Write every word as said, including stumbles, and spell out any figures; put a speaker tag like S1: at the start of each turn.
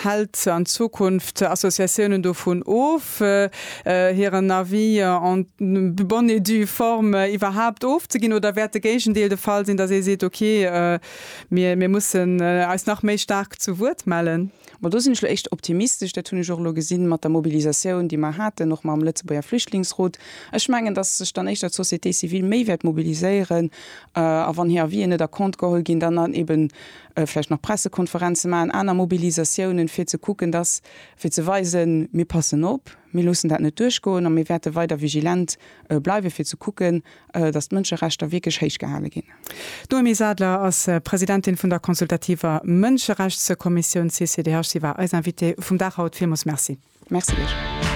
S1: Hält an Zukunft Associatiounen dovun of, hiren Avis en bonne et due forme iwwerhaapt ofzeginn, oder wäert de Géigendeel de Fall sinn, datt ee seet, okay, mir mir mussen eis nach méi staark zu Wuert mellen?
S2: Bon, do sinn ech elo éischter optimistesch. Dat hunn ech och elo gesinn mat der Mobilisatioun, déi mer haten, och mam Lëtzebuerger Flüchtlingsrot. Ech mengen, datt sech dann éischter d'Société civile méi wäert mobiliséieren a wann hir Avisen net a Compte geholl ginn, dann dann eben vläicht nach Pressekonferenze maachen, aner Mobilisatiounen, fir ze kucken, datt, fir ze weisen, mir passen op, mir loossen dat net duerchgoen a mir wäerte weider vigilent bleiwen, fir ze kucken, datt d'Mënscherechter wierklech héich gehale ginn.
S1: D'Noémie Sadler ass Presidentin vun der consultativer Mënscherechtskommissioun C C D H. Si war eis Invitée vum Dag haut. Villmools Merci.
S2: Merci lech.